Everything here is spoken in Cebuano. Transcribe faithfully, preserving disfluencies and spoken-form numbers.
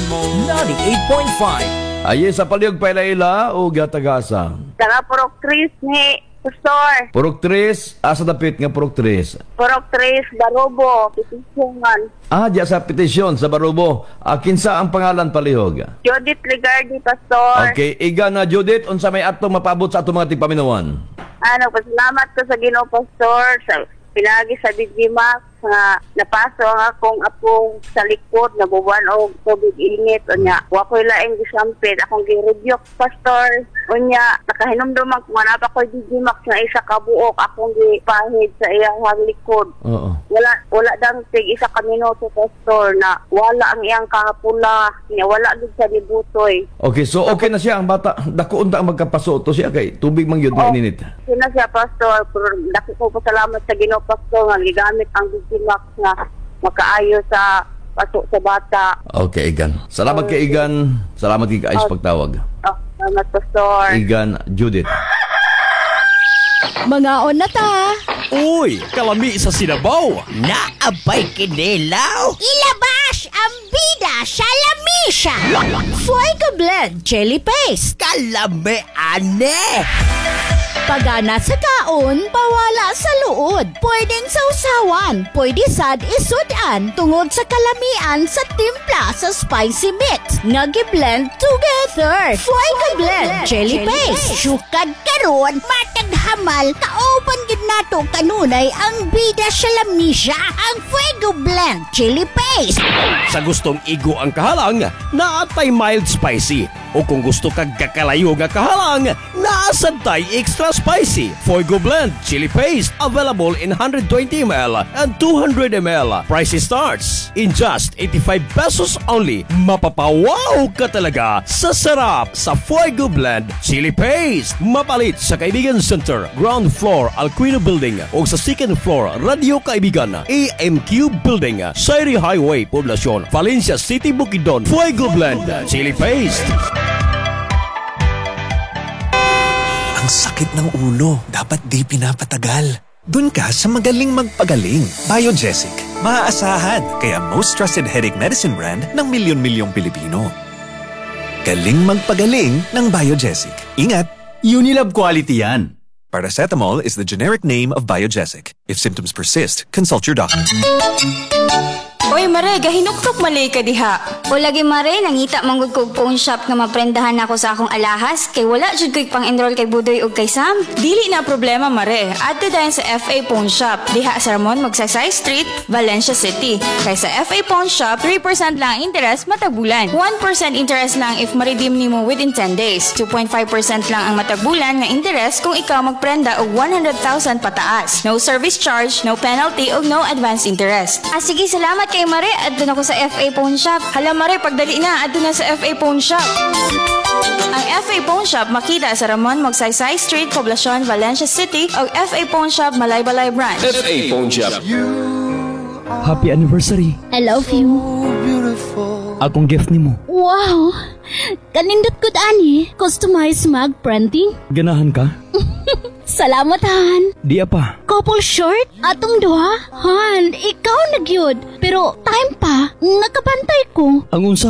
ninety-eight point five. Aye, sa palihog paila-ila o tagasa? Taga Purok Tres ni, Pastor. Purok Tres, asa dapit nga Purok Tres? Purok Tres, Barobo, Petisyon. Ah, diya sa Petisyon, sa Barobo. Ah, kinsa ang pangalan, palihog? Judith Ligardi, Pastor. Okay, iga na Judith, unsa may atong mapabot sa atong mga tigpaminawan? Ano, pasalamat ko sa Ginoo, Pastor, sa pinagi sa D J Max nga napaso ang akong apo sa likod, nabubuan og tubig init. Unya wa koy laing gisampit, akong gi-rebuke, Pastor. Unya nakahinumduman ko nga naa pa koy D J Max nga isa ka buok, akong gipahid sa iyang likod. Oo. Wala wala dang tig isa ka minuto, Pastor, na wala ang iyang kahapula niya, wala gid sa nibutoy. Okay, so okay na siya ang bata. Dako unta ang magkapaso to siya kay tubig man gyud nga ininit. Okay na siya, Pastor, pero dako ko pasalamat sa Ginoo, Pastor, nga gigamit ang D J Max nga makaayo sa paso sa bata. Okay, Igan. Salamat kay Igan. Salamat kay sa pagtawag. Oh, salamat, Pastor. Igan Judith. Mangaon na ta. Uy, kalami sa sinabaw. Naabay kinilaw. Ilabas ang bida sa lamisa. Fuego Blend Chili Paste. Kalami ane. Pagana sa kaon, pawala sa luod. Pwedeng sausawan, pwede sad isudan tungod sa kalamian sa timpla sa spicy mix nga gi-blend together. Fuego Blend Chili Paste. Sukad karon, matag hamal, kauban gid nato kanunay ang bida sa lamisa, ang Fuego Blend Chili Paste. Sa gustong igo ang kahalang, naatay mild spicy. O kung gusto kag kakalayo nga kahalang, naasad tay extra spicy. Fuego Blend Chili Paste, available in one hundred twenty milliliters and two hundred milliliters. Price starts in just eighty-five pesos only. Mapapawaw ka talaga sa sarap sa Fuego Blend Chili Paste. Mapalit sa Kaibigan Center, ground floor, Alquino Building o sa second floor, Radio Kaibigan, A M Q Building, Sayri Highway, Poblacion, Valencia City, Bukidnon. Fuego Blend Chili Paste. Ang sakit ng ulo, dapat di pinapatagal. Dun ka sa magaling magpagaling. Biogesic. Maaasahan, kaya most trusted headache medicine brand ng milyon-milyong Pilipino. Galing magpagaling ng Biogesic. Ingat! Unilab quality yan. Paracetamol is the generic name of Biogesic. If symptoms persist, consult your doctor. Oy, Mare, gahinuktok malay ka diha. O lagi, Mare, nangita manggod kog pawn shop nga maprendahan nako sa akong alahas kay wala jud ko'y pang-enroll kay Budoy ug kay Sam. Dili na problema, Mare. Adto dayon sa F A Pawn Shop. Diha sa Ramon Magsaysay Street, Valencia City. Kay sa F A Pawn Shop, three percent lang ang interest matag bulan. one percent interest lang if ma-redeem nimo within ten days. two point five percent lang ang matag bulan nga interest kung ikaw magprenda og one hundred thousand pataas. No service charge, no penalty ug no advance interest. Ah, sige, salamat kay Mare. Adto na ko sa F A Pawn Shop. Hala, Mare, pagdali na, adto na sa F A Pawn Shop. Ang F A Pawn Shop makita sa Ramon Magsaysay Street, Poblacion, Valencia City o F A Pawn Shop Malaybalay Branch. F A Pawn Shop. Happy anniversary. I love you. Akong gift nimo. Wow! Kanindot gud ani. Customized mug printing. Ganahan ka? Salamat, Han. Di pa. Couple shirt? Atong duha? Han, ikaw na gyud. Pero time pa, nakabantay ko. Ang unsa?